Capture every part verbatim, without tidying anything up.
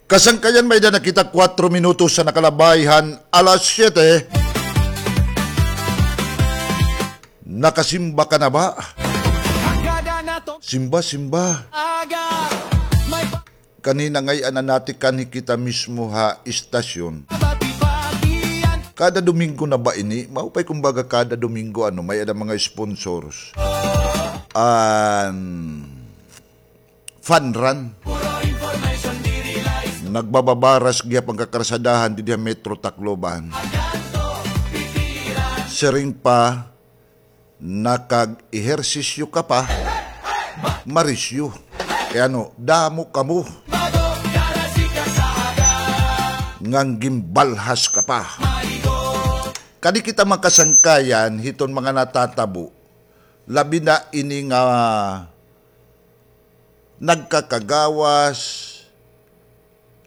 Kasangkayan, may-ada na kita kuwatro minutos sa nakalabay han alas siyete. Nakasimba ka na ba? Simba, simba. Kanina ngay-an na natikanhi kita mismo ha istasyon. Kada Domingo na ba ini? Maupay kumbaga kada Domingo, ano, may-ada mga sponsors. An fun run. Nagbababaras gihap an kakarsadahan didi ha Metro Tacloban. Siring pa, nakag-ehersisyo ka pa, marisyo. Kay ano, damo kamo. Ngan ginbalhas ka pa. Kadi kita makasangkayan hiton mga natatabo. Labi na ini nga nagkakagawas,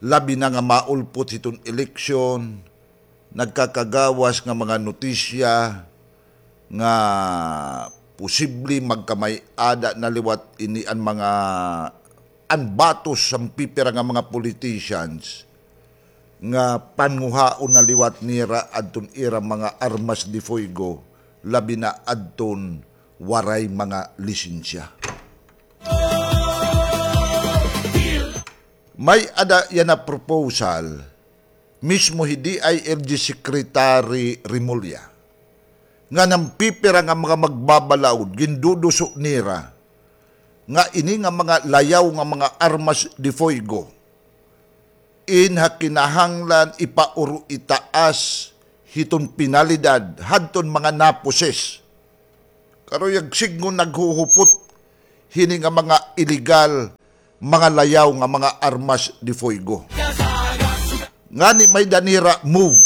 labi na nga maulpot hiton eleksyon, nagkakagawas nga mga notisya nga posible magkamay-ada na liwat ini an mga, an batos han pipira nga mga politicians nga panguhaon na liwat nira adton ira mga armas de fuego, labi na adton waray mga lisensya. May-ada yana proposal mismo hi D I L G Secretary Remulla, nga an pipira nga mga magbabalaod, ginduduso nira nga ini nga mga layaw nga mga armas de fuego, in ha kinahanglan ipauro itaas hiton penalidad hadton mga naposes. Karuyag sidngon naghuhupot hini nga mga iligal, mga layaw nga mga armas de fuego. Ngani may-ada nira move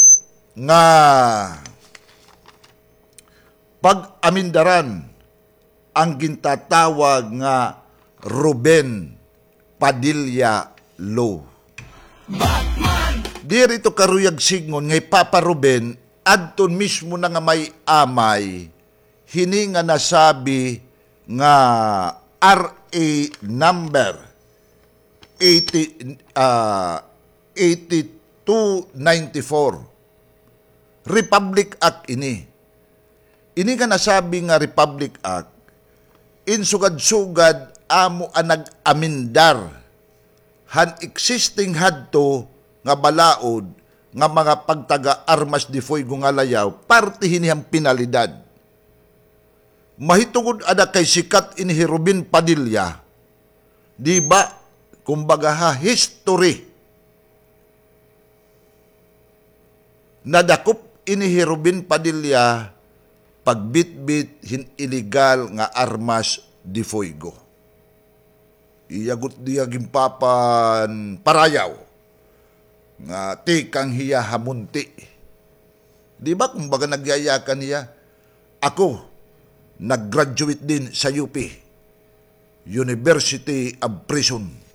nga pag-amindaran an gintatawag nga Ruben Padilla Law. Diri ito karuyag sidngon nga hi Papa Ruben adton mismo na nga may-amay hini nga nasabi nga R A number eighty, ah, eighty-two ninety-four. Republic Act ini. Ini nga nasabi nga Republic Act, in sugad-sugad amo an nag-amendar han existing hadto nga balaod nga mga pagtaga armas de fuego nga layaw, parte hini han penalidad. Mahitungod ada kay sikat ini hi Ruben Padilla, di ba? Kumbaga ha history, nadakop ini hi Ruben Padilla pagbitbit hin iligal nga armas de fuego. Iya gud diya ginpapanparayaw nga tikang hiya ha Munti. Di ba, kumbaga nagyayakan hiya, ako, nag-graduate din sa U P, University of Prison.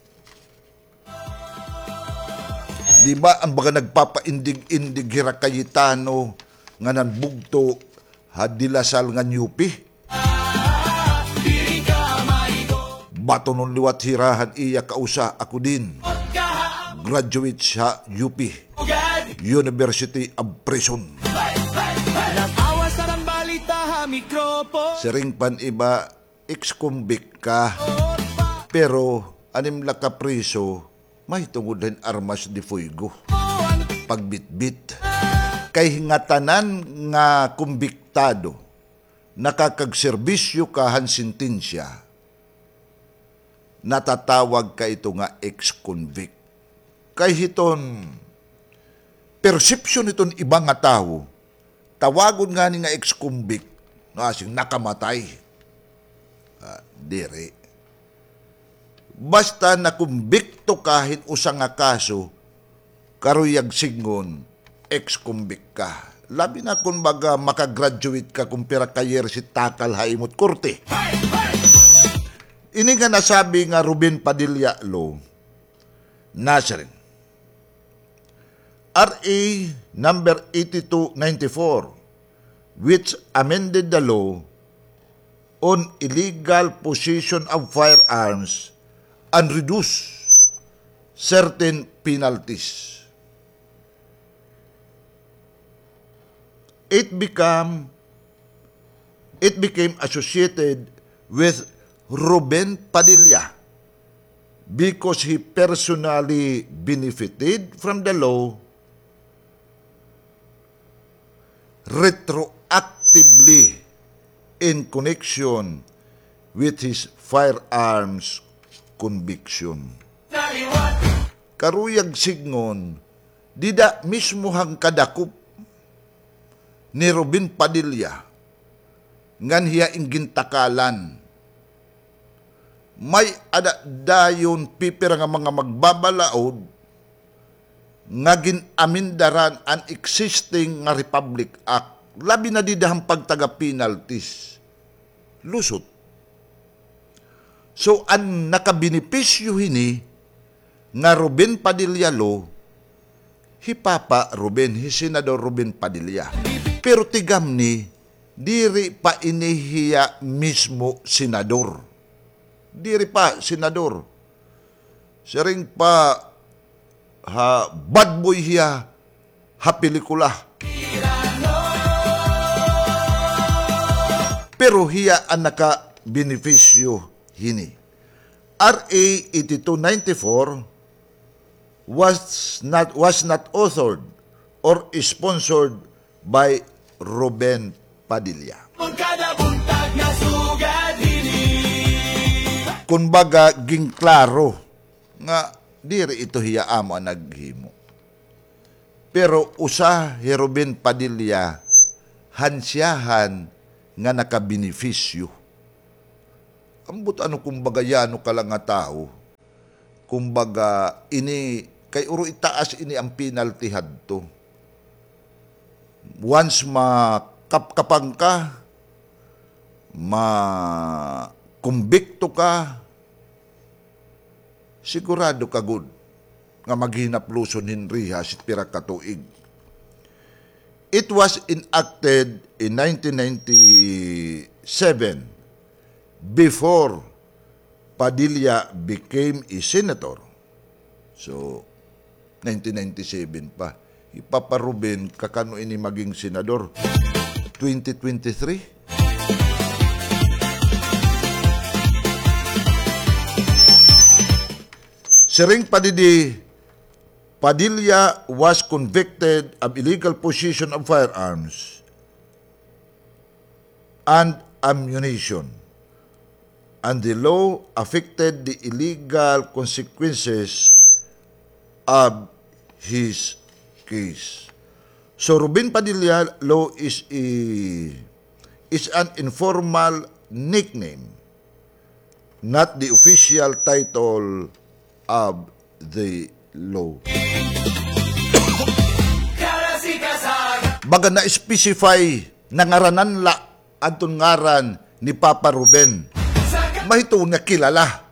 Di ba, an baga nagpapaindig-indig hira Cayetano nga nanbugto ha De La Salle ngan U P? Batonon liwat hira han iya kausa, ako din. Graduate sa U P, University of Prison. Siring pan iba, ex-convict ka. Pero an im la kapriso, mahitungod hin armas de fuego, pagbitbit. Kay ngatanan nga kumbiktado, nakakagserbisyo ka han sentensya, natatawag ka ito nga ex-convict. Kay hiton perception hiton iba nga tawo, tawagon ngani nga ex-convict, no, asing nakamatay. Ah, diri. Basta nakumbikto ka hin usa nga kaso, karuyag sidngon, ex-convict ka. Labi na kon baga maka-graduate ka kon pira ka years it takal ha imo't korte. Ini nga nasabi nga Ruben Padilla Law, nasiring, R A number eighty-two ninety-four, which amended the law on illegal possession of firearms and reduce, certain penalties. It become, it became associated with Ruben Padilla because he personally benefited from the law retroactively in connection with his firearms conviction. Karuyag sidngon, dida mismo han kadakop ni Ruben Padilla ngan hiya in gintakalan. May-ada dayon pipira nga mga magbabalaod nga gin-amindaran an existing nga Republic Act, labi na dida han pagtaga penalties. Lusot. So, an nakabenepisyo hini nga Ruben Padilla law, hi Papa Ruben, hi Senador Ruben Padilla. Pero tigamni, diri pa ini hiya mismo senador. Diri pa senador. Siring pa ha bad boy hiya ha pelikula. Pero hiya an nakabenepisyo hini. R A eighty-two ninety-four was not, was not authored or sponsored by Ruben Padilla. Kumbaga, ginklaro nga diri ito hiya amo an naghimo. Pero usa hi Ruben Padilla han siyahan nga nakabenepisyo. Ambot ano, kumbaga, yano ka la nga tawo. Kumbaga, ini, kay uro itaas ini an penalty hadto. Once makapkapan ka, makumbikto ka, sigurado ka gud nga maghinapluson hin rehas it pira ka tuig. It was enacted in nineteen ninety-seven, before Padilla became a senator. So, nineteen ninety-seven pa. Hi Papa Ruben, kakano ini maging senador? Twenty twenty-three? Siring pa didi, Padilla was convicted of illegal possession of firearms and ammunition, and the law affected the illegal consequences of his case. So, Ruben Padilla law is a, is an informal nickname, not the official title of the law. Baga na-specify, nangaranan la adton ngaran ni Papa Ruben. Mahitungod nga kilala.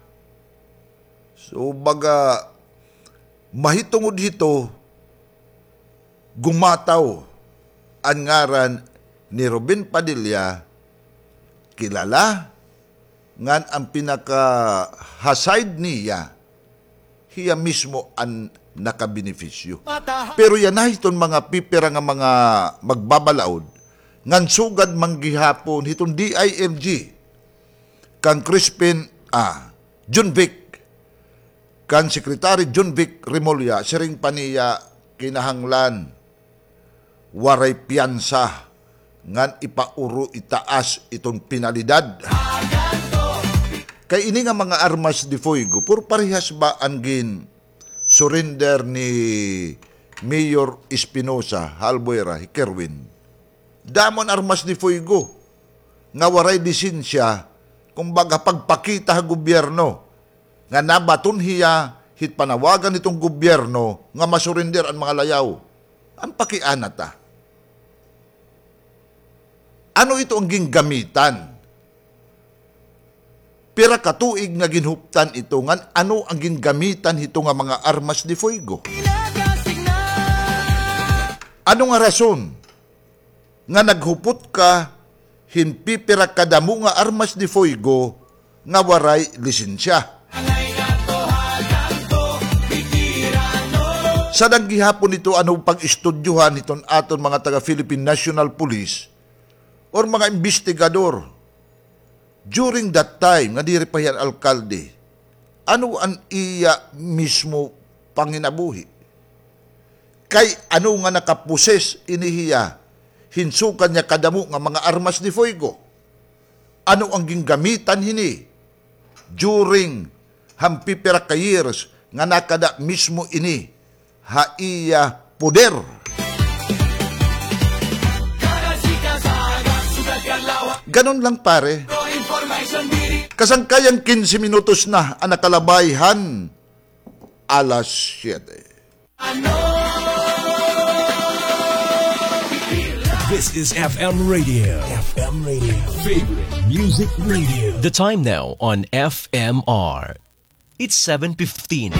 So, baga, mahitungod hito, gumataw an ngaran ni Ruben Padilla, kilala, ngan an pinaka-ha-side niya, hiya mismo an nakabenepisyo. Pero yana hiton mga pipira nga mga magbabalaod, ngan sugad man gihapon hiton D I L G, kan Crispin, ah, Jonvic, kan Secretary Jonvic Remulla, siring pa niya kinahanglan waray piyansa ngan ipauro itaas iton penalidad. Kay ini nga mga armas de fuego, puro parehas ba an gin-surrender ni Mayor Espinosa, Albuera, hi Kerwin? Damo an armas de fuego nga waray lisensya, kumbaga pagpakita ha gobyerno nga nabaton hiya hit panawagan hiton gobyerno nga masurinder an mga layaw. An pakiana ta, ano ito an gingamitan? Pira ka tuig nga ginhuptan ito, ngan ano an gingamitan hito nga mga armas de fuego? Ano nga rason nga naghupot ka hin pipira kadamo nga armas de fuego nga waray lisensya? Sadang gihapon ito ano pag-istudyohan hiton aton mga taga Philippine National Police or mga investigador during that time nga diri pa hiya alkalde. Ano an iya mismo panginabuhi? Kay ano nga nakaposes ini hiya? Hinsukan niya kadamo nga mga armas de fuego. Ano an gingamitan hini during han pipira ka years nga nakada mismo ini ha iya poder? Ganun lang, pare. Kasangkayan, kinse minutos na an nakalabay han alas siyete. This is F M Radio. F M Radio. Favorite Music Radio. The time now on F M R. It's seven fifteen.